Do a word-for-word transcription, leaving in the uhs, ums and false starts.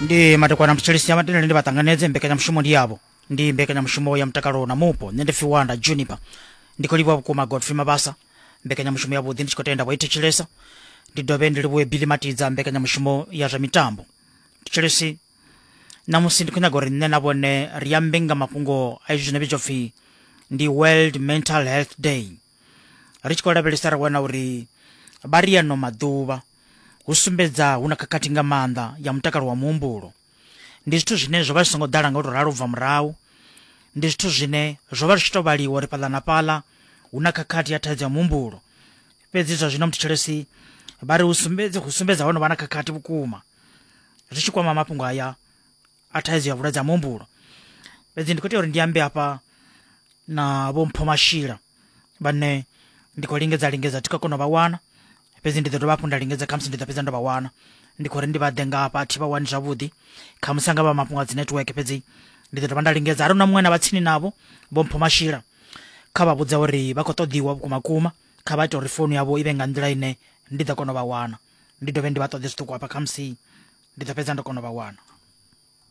Ndi madekwana mthetshelesi ya matendele ndi vha ṱanganedze mbekanyamushumo ndi yavho, ndi mbekanyamushumo ya mutakalo na mupo. Nṋe ndi Fiwanda Juniper, ndi khou livhuwa vhukuma Godfrey Mabasa, mbekanyamushumo ya vhuḓi ndi tshi khou tenda vho i thetshelesa. Ndi dovhe ndi livhuwe Billy Matidza, mbekanyamushumo ya zwa mitambo. Thetshelesi, ṋamusi ndi khou nyaga uri nṋe na vhone ri ambe nga mafhungo a izwi zwino vhidzwa pfhi ndi World Mental Health Day. Ri tshi khou lavhelesa ri wana uri vha ri ano maḓuvha hu sumbedza hu na khakhathi nga maanḓa ya mutakalo wa muhumbulo. Ndi zwithu zwine zwo vha zwi songo ḓala nga u tou ralo ubva murahu, ndi zwithu zwine zwo vha zwi tshi tou vhaliwa uri fhaḽa na fhaḽa hu na khakhathi ya thaidzo ya muhumbulo. Fhedzi zwa zwino muthetshelesi vha ri hu sumbedza hu sumbedza ho no vha na khakhathi vhukuma zwi tshi kwama mafhungo aya a thaidzo ya vhulwadze ha muhumbulo. Fhedzi ndi khou tea uri ndi ambe hafha na Vho Mpho Mashila vhane ndi khou lingedza lingedza thi khou kona u vha wana, fhedzi ndi ḓo dovha hafhu nda lingedza, khamusi ndi ḓo fhedza ndo vha wana. Ndi khou ri ndi vha ḓe nga hafha, thi vha wani zwavhuḓi, khamusi anga vha mafhungo a dzi network, fhedzi ndi ḓo dovha nda lingedza. Arali na muṅwe na vha tsini navho Vho Mpho Mashila, kha vha vhudza uri vha khou ṱoḓiwa vhukuma kuma, kha vha ite uri founu yavho i vhe nga nḓila ine ndi ḓo kona u vha wana. Ndi dovhe ndi vha ṱoḓe zwiṱuku hafha, khamusi ndi ḓo fhedza ndo kona u vha wana.